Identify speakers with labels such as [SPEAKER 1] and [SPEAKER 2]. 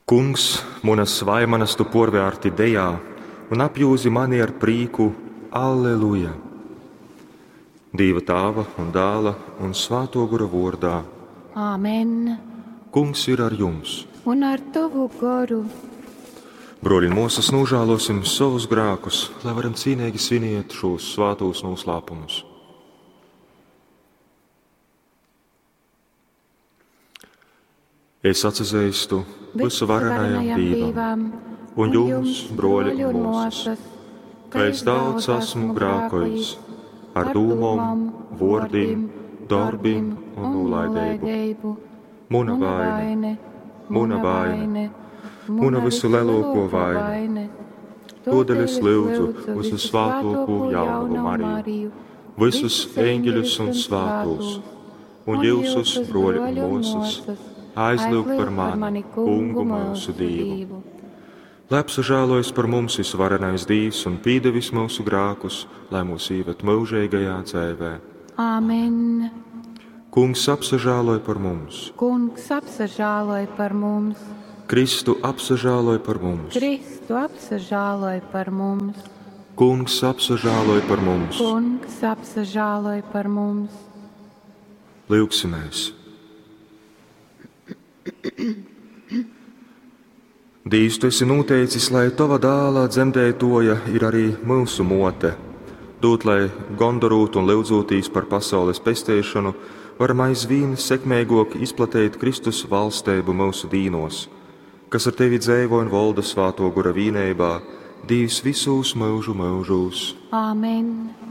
[SPEAKER 1] Kungs, munas vaimanas tu puorvērti dejā un apjūzi mani ar prīku. Alleluja! Dīva Tāva un Dāla un Svātuo Gora vuordā.
[SPEAKER 2] Āmen.
[SPEAKER 1] Kungs ir ar jums!
[SPEAKER 2] Un ar tovu goru.
[SPEAKER 1] Bruoļi un muosys, nožēlosim savus grēkus, lai varam cīnīgi sviniet šos svātos noslēpumus. Es atzīstu visuvarenajam Dievam un jums, broļi un muosas, ka es daudz esmu grēkojis ar dūmom, vōrdim, darbim un nolaidību. Muna vaine, muna vaine, muna visulielāko vaina. Todēļ es lūdzu visu svātoko jaunavu Mariju, visus eņģeļus un svātos, un jūsus, broļi un muosas, aizlūgt par mani, Kungu mūsu Dievu. Lai apsažēlojas par mums visvarenais Dievs un pīdevis mūsu grēkus, lai mūs īved mūžīgajā dzēvē.
[SPEAKER 2] Āmen.
[SPEAKER 1] Kungs apsažēloj par mums.
[SPEAKER 2] Kungs apsažēloj par mums.
[SPEAKER 1] Kristu apsažēloj par mums.
[SPEAKER 2] Kristu apsažēloj par mums.
[SPEAKER 1] Kungs apsažēloj par mums.
[SPEAKER 2] Kungs apsažēloj par mums.
[SPEAKER 1] Lūgsimies! Dīvs, tu esi noteicis, lai tava dāla dzemdētoja ir arī mūsu mote. Dūt, lai gondorūt un lyudzūtīs par pasaules pesteišanu, varam aizvien sekmīgāk izplatīt Kristus valstību mūsu dīnos, kas ar tevi dzēvo un valda svāto gura vīnībā, Dīvs visūs mūžu mūžūs.
[SPEAKER 2] Āmen.